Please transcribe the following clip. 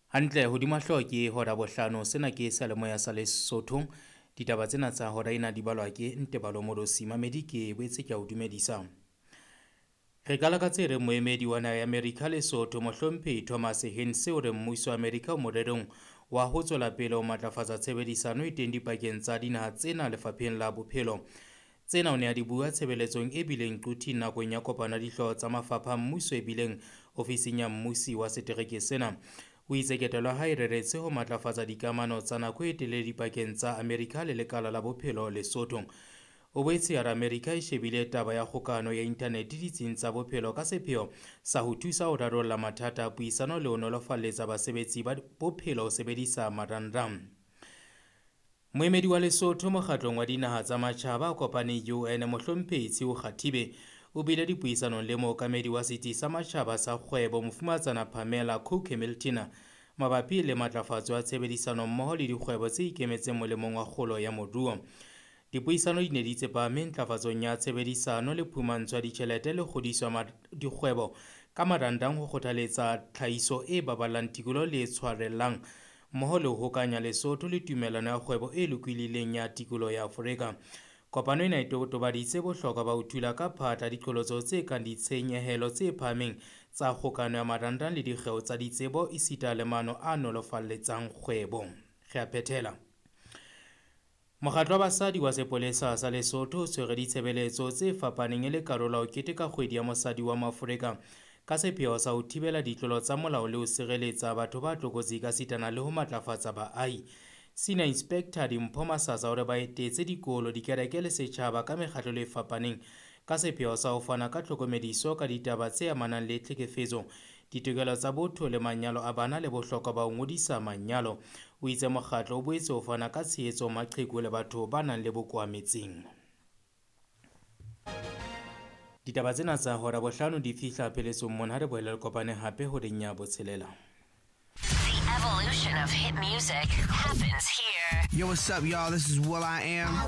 Hantle hodima hlooho ke hora bohlano. Sena ke seyalemoya sa Lesotho. Ditaba tsena tsa hora ena di balwa ke Ntebalo Morosi. Mamedi ke boetse ke a o dumedisa. Re qala ka tse reng moemedi wa naha ya Amerika Lesotho Mohlomphehi Thomas Hinse o re mmuso wa Amerika o morerong wa ho tswela pele ho matlafatsa tshebedisano e teng dipakeng tsa dinaha tsena lefapheng la bophelo. Tsena o ne a di bua tshebeletsong e bileng Quthing nakong ya kopano ya dihlooho tsa mafapha a mmuso e bileng ofising ya mmusi wa setereke sena. O itse ketelo ya hae e reretse ho matlafatsa dikamano tsa nako e telele dipakeng tsa Amerika le lekala la bophelo Lesotho. O boetse a re Amerika e shebile taba ya kgokahano ya inthanete ditsing tsa bophelo ka sepheo sa ho thusa ho rarolla mathata a puisano le ho nolofalletsa basebetsi ba bophelo ho sebedisa marangrang. Moemedi wa Lesotho mokgatlong wa dinaha tsa matjhaba a kopaneng UN Mohlomphehi Tshiu Kgathibe o bile dipuisanong le mookamedi wa setsi sa matjhaba sa kgwebo Mofumatsana Pamela Cook Hamilton mabapi le matlafatso ya tshebedisano mmoho le dikgwebo tse ikemetseng molemong wa kgolo ya moruo. Dipuisano di ne di tsepame ntlafatsong ya tshebedisano le phumantsho ya ditjhelete le kgodiso ya dikgwebo ka marangrang ho kgothaletsa tlhahiso e baballang tikoloho le e tshwarellang mmoho le ho hokanya Lesotho le tumellano ya kgwebo e lokolohileng ya tikoloho ya Afrika. Kopano ena e totobaditse bohlokwa ba ho thula ka phatla diqholotso tse kang ditshenyehelo tse phahameng tsa kgokahano ya marangrang le dikgeo tsa ditsebo esita le maano a nolofalletsang kgwebo. Re a phethela. Mokgatlo wa basadi wa sepolesa sa Lesotho o tshwere ditshebeletso tse fapaneng e le karolo ya ho keteka kgwedi ya mosadi wa Moafrika ka sepheo sa ho thibela ditlolo tsa molao le ho sireletsa batho ba tlokotsi ka sitana le ho matlafatsa baahi. Senior Inspector Dimpho Masasa o re ba etetse dikolo, dikereke le setjhaba ka mekgahlelo e fapaneng ka sepheo sa ho fana ka tlhokomediso ka ditaba tse amanang le tlhekefetso, ditokelo tsa botho le manyalo a bana le bohlokwa ba ho ngodisa manyalo. O itse mokgatlo o boetse o fana ka tshehetso maqheku le batho ba nang le bokowa metseng. Ditaba tsena tsa hora bohlano di fihla pheletsong mona, ha re boele re kopane hape horeng ya botshelela. The evolution of hit music happens here. Yo, what's up, y'all? This is Will I Am.